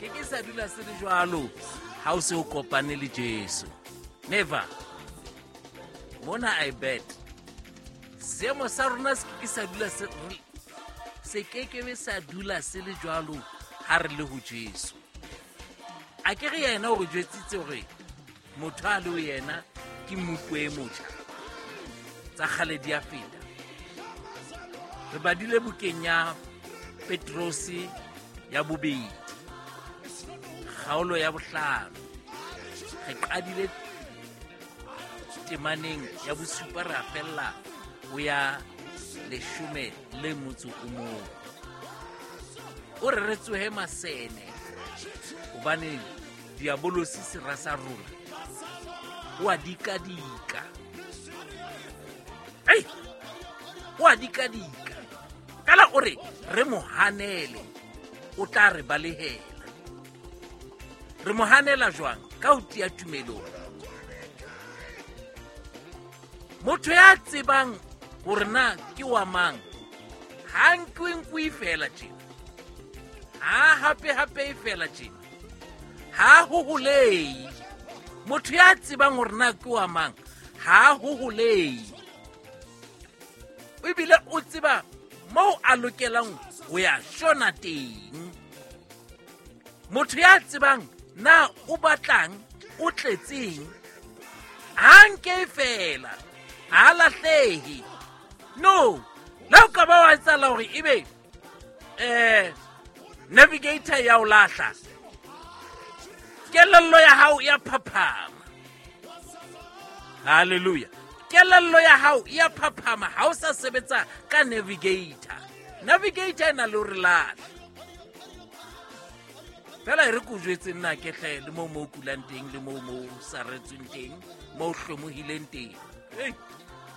Ke ke sa dula se le jwalo ha o se o kopane le Jesu. Never. Mona I bet. Seemo sa rona se ke sa dula se se kekebe sa dula se le jwalo ha re le ho Jesu. A ke re yena o re jwetsitse hore motho a le ho yena ke mmupo e motjha, tsa kgale di a feta. Re badile bukeng ya Petrose ya bobedi, kgaolo ya bohlano. Re qadile temaneng ya bosupa, re a fella ho ya leshome le motso o mong. O re re tsohe masene, hobane diabolosi sera sa rona o a dikadika. Ei, o a dikadika. Fela o re re mo hanele, o tla re balehela. Re mo hanela jwang? Ka ho tiya tumelong. Motho ya tsebang hore na ke wa mang, ha nkwe nkwe fela tjena, ha hape hape fela tjena, ha hoholei. Motho ya tsebang hore na ke wa mang, ha hoholei. Ebile o tseba moo a lokelang ho ya shona teng. Motho ya tsebang na o batlang, o tletseng, ha nke fela, ha lahlehe. No, le o ka ba wa etsahala hore ebe navigator ya o lahla, kelello ya hao ya phaphama. Hallelujah. Kelello ya hao ya phaphama ha o sa sebetsa ka navigator. Navigator e na le hore lahla. Fela e re ko jwetse nna ke hle le moo mo kulang teng, le moo mo saretsweng teng, moo hlomohileng teng. Ei,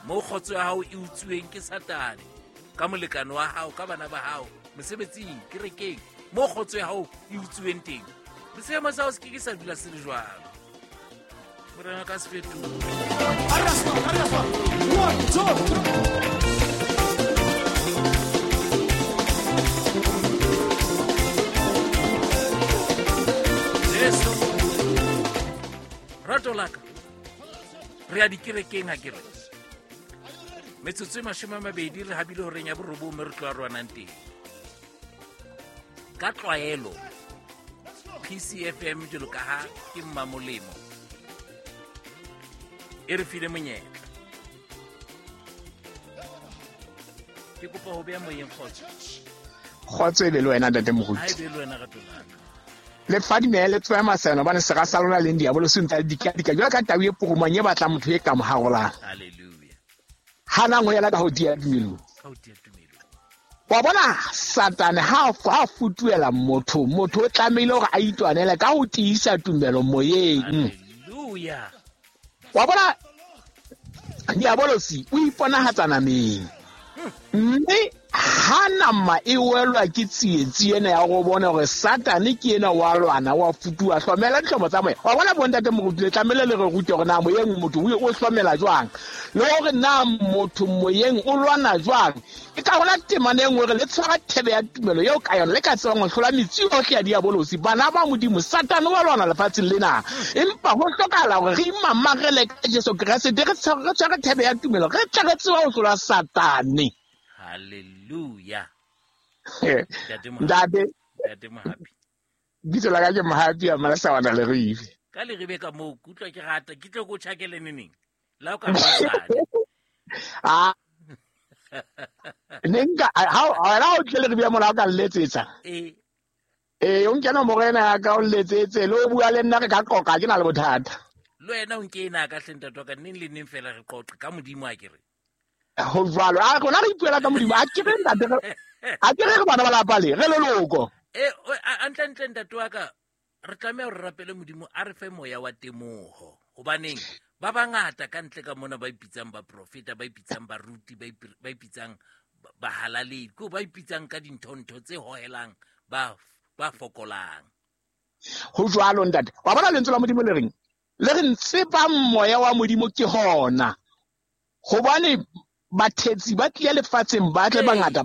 moo kgotso ya hao e utsuweng ke Satane, ka molekane wa hao, ka bana ba hao, mosebetsing, kerekeng, moo kgotso ya hao e utsuweng teng. Seemo sa hao se ke ke sa dula se le jwalo. Morena ka se fetohe. Arresta, arresta. 1, 2, 3. Jesu. Rato la ka. Re ya dikerekeng ha ke re. Metsotso e 20 re habile horeng ya borobong mme re tloha rwanang teng. Ka tlwaelo PCFM jwalo ka ha ke mmamolemo e re file monyetla. Ke kopa ho beha moyeng kgotso. Kgotso e be le wena ntate Moruti. Ha e be le wena rato la ka. Le fadime le tsoe maseno hobane sera sa lona leng diabolo se ntse le dikadika jwalo ka tau e purumang e batlang motho e ka mo harolang. Hallelujah. Hanang ho yela ka ho tiya tumelong. Ka ho tiya tumelong. Wa bona Satane ha a futuela motho, motho o tlamehile hore a itwanele ka ho tiisa tumelo moyeng. Hallelujah. Wa bona diabolosi o iponahatsa nameng. Mme ha nama e welwa ke tsietsi ena ya go bona hore Satane ke ena wa lwana, wa futuha, hlomela dihlomo tsa moya. Wa bona bontate moruti, le tlamehile le re rute hore na moyeng motho o hlomela jwang, le hore na motho moyeng o lwana jwang. Ke ka hona temana e nngwe re le tshwara thebe ya tumelo eo ka yona le ka tsebang ho hlola metsi yohle ya diabolosi. Bana ba Modimo, Satane wa lwana lefatsheng lena, empa ho hlokahala hore re imamarele ka Jesu Kreste, re tshware thebe ya tumelo, re tle re tsebe ho hlola Satane. Hallelujah. Ntate. Ntate Mohapi. Bitso la ka ke Mohapi a Malasawana Leribe. Ka Leribe ka moo, ke utlwa ke rata, ke tlo ko tjhakele neneng? La o ka mosadi. Ah. Ne nka, ha o, ha o tle Leribe mona o ka nletsetsa. Eh. Eh, o nke nomoro ena ya ka o nletsetse, le o bua le nna re ka qoqa, ke na le bothata. Le wena o nke ena ka hle ntate wa ka, neng le neng fela re qoqe ka Modimo a ke re. Ho jwalo. A rona re ipuela ka Modimo. A ke re ntate re, a ke re re bana ba lapa le, re leloko. Eh, o, a, a ntle, ntle ntate wa ka, re tlameha hore re rapele Modimo a re fe moya wa temoho. Hobaneng ba bangata ka ntle ka mona ba ipitsang baprofeta, ba ipitsang baruti, ba ipitsang bahalaledi, ke ba ipitsang ka dintho-ntho tse hohelang ba fokolang. Ho jwalo ntate. Wa bona lentswe la Modimo le reng? Le re ntsebang moya wa Modimo ke hona. Hobane bathetsi ba tlile lefatsheng ba tle bangata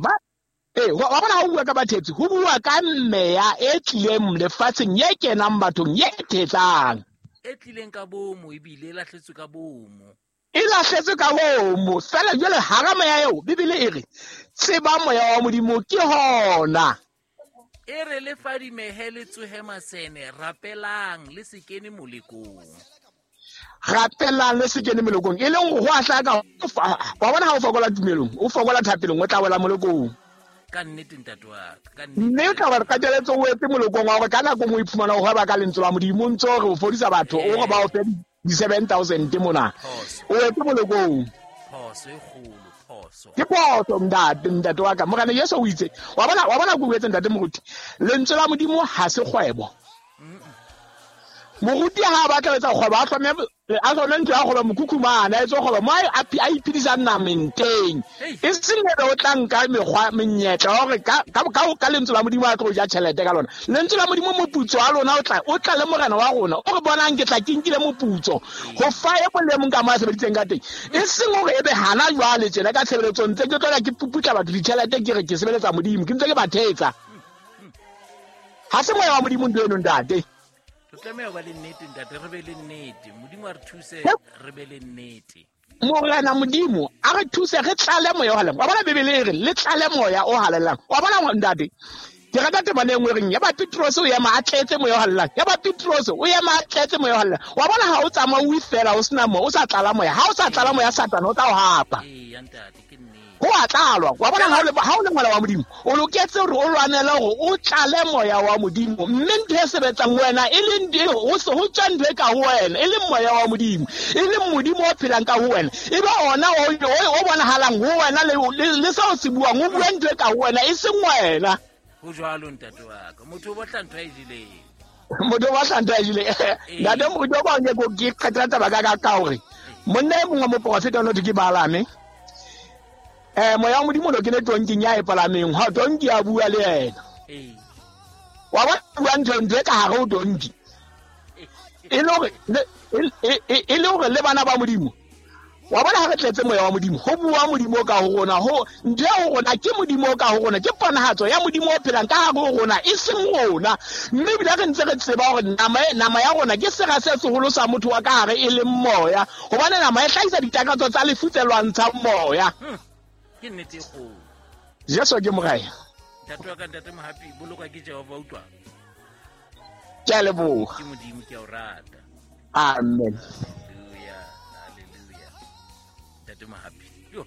Ee, wa bona ha o bua ka bathetsi, ho bua ka meya e tlileng lefatsheng, ye kenang bathong, ye thetsang. E tlileng ka bomo, ebile e lahletswe ka bomo. E lahletswe ka bomo. Fela jwale hara moya eo, Bibele e re, tseba moya wa Modimo ke hona. E re le fadimehe le tsohe masene, rapelang le se kene molekong. Rapelang le se kene molekong. E leng ho a hlaka, wa bona ha o fokola tumelong, o fokola thapelong, o tla wela molekong. Ka nnete ntate wa ka, ka nnete. Mme o tla ba qetelletse o etse molekong wa hore ka nako nngwe o iphumana o hweba ka lentswe la Modimo, o ntse o re o fodisa batho, o re ba o fe di-7,000 mona. Phoso. O etse molekong. Phoso e kgolo, phoso. Ke phoso, ntate, ntate wa ka. Morena Jesu o itse, wa bona, wa bona ke o etse ntate moruti, lentswe la Modimo ha se kgwebo. Moruti ha a batla ho etsa kgwebo, a hlome ntlo ya kgwebo mokhukhu mane, a etse kgwebo mo a iphedisang nameng teng. Hei. E seng ebe o tla nka mekgwa, menyetla ya hore ka lentswe la Modimo a tlo ja tjhelete ka lona. Lentswe la Modimo moputso wa lona o tla le morena wa rona. O re bonang ke tla ke nkile moputso ho fa e mong le mong ka mo a sebeditseng ka teng. E seng hore ebe hana jwale tjena ka tshebeletsong ntse ke tlola ke puputla batho ditjhelete ke re ke sebeletsa Modimo, ke ntse ke ba thetsa. Ha se moya wa Modimo ntho eno ntate. Re tlameha ho ba le nnete ntate, re be le nnete. Modimo a re thuse, re be le nnete. Morena Modimo a re thuse, re tlale moya o halalelang. Wa bona Bibele e re le tlale moya o halalelang. Wa bona ntate, ke rata temana e nngwe e reng ya ba Petrose o ema a tletse moya o halalelang. Ya ba Petrose o ema a tletse moya o halalelang. Wa bona ha o tsamaya o ifela o sena moya, o sa tlala moya. Ha o sa tlala moya, Satane o tla o hapa. Ee, ya ntate, ke nnete. Ho a tlalwa. Wa bona ha o le ngwana wa Modimo, o loketse hore o lwanele hore o tlale moya wa Modimo. Mme ntho e sebetsang ho wena e leng ntho e, ho se, ho tswa ntho e ka ho wena, e leng moya wa Modimo, e leng Modimo o phelang ka ho wena. E be ona o bonahalang ho wena le seo se buang, o bua ntho e ka ho wena, e seng wena. Ho jwalo ntate wa ka. Motho o batla ntho a e jeleng. Motho o batla ntho a e jeleng. Ntate moruti wa ka, ke qetela taba ka hore monna e mongwe wa moporofeta o no thwe ke Balaame. Moya wa Modimo o no kene tonking ya e palameng, ha tonki a bua le yena. Wa bona bua ntho e ka hare ho tonki. E le hore le, e, e, e le hore le bana ba Modimo. Wa bona ha re tletse moya wa Modimo, ho bua Modimo ka ho rona, ho ntho ya ho rona ke Modimo ka ho rona, ke ponahatso ya Modimo o phelang ka hare ho rona, e seng rona. Mme ebile re ntse re tseba hore nama ya rona ke sera se seholo sa motho wa ka hare e leng moya, hobane nama e hlahisa ditakatso tsa lefu tse lwantshang moya. Ke nnete e kgolo. Jesu ke morena. Ntate wa ka, ntate Mohapi, bolokwa ke Jehova, utlwa. Ke a leboha. Ke Modimo, ke a o rata. Amen. Hallelujah, hallelujah. Ntate Mohapi. Yo.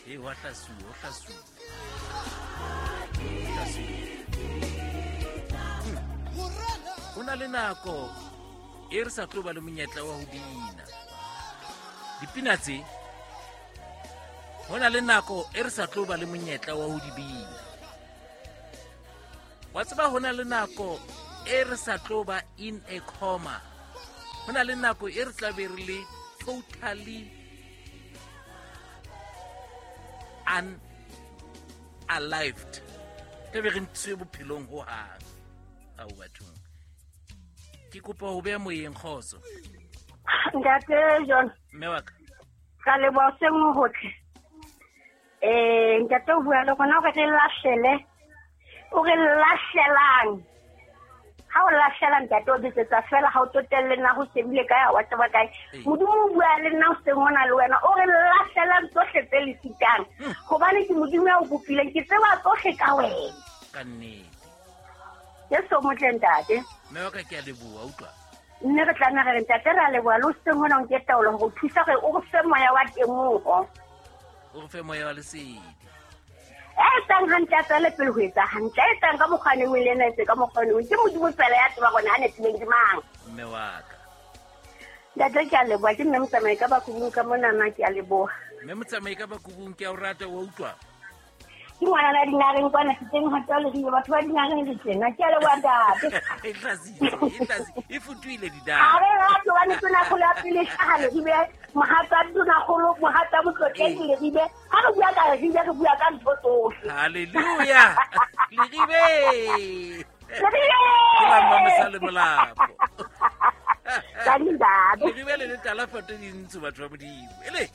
E wa hlasuwa, o hlasuwa. Hlasuwa. Ho na le nako e re sa tlo ba le monyetla wa ho bina. Dipina tse, ho na le nako e re sa tlo ba le monyetla wa ho di bina. Wa tseba ho na le nako e re sa tlo ba in a coma. Ho na le nako e re tla be re le totally unalived. Tla be re ntshwe bophelong ho hang. Ao bathong. Ke kopa ho beha moyeng kgotso. Ntate John. Mme wa ka. Ka leboha hoseng ho hotle. Ntate o bua le rona hore re lahlele. O re lahlelang. Ha o lahlela ntate o betsetsa fela, ha o tsotelle na ho shebile kae, ha wa tseba kae. Modimo o bua le nna hoseng hona le wena, o re lahlelang tsohle tse le sitang. Hobane ke Modimo ya o bopileng, ke tseba tsohle ka wena. Ka nnete. Jesu o motle ntate. Mme wa ka ke a leboha, utlwa. Mme re tlameha re re ntate re a leboha le hoseng hona o nke taolo hore o thusa hore o re fe moya wa temoho. O re fe moya wa lesedi. E etsang hantle a tswele pele ho etsa hantle, e etsang ka mokgwa o neng o le ena, etse ka mokgwa o neng. Ke Modimo fela ya tseba hore a nepileng ke mang. Mme wa ka. Ntate ke a leboha, ke mme motsamai ka Bakubung ka monana, ke a leboha. Mme motsamai ka Bakubung, ke a o rata, wa utlwa? Ke ngwana la dinareng kwana, ke teng ho tswa Leribe, batho ba dinareng re tjena. Ke a leboha ntate. E tlasitse, e tlasitse, e futuhile dinare. Ha re rate hobane tonakgolo ya pele e hlaha Leribe, mohatsa tonakgolo, mohatsa motlotlegi Leribe. Ha re bua ka Leribe, re bua ka ntho tsohle. Hallelujah. Leribe. Leribe. Ke la Mmamosale Molapo. Ka ntate. Leribe le letala foto dintsho batho ba Modimo. Ele.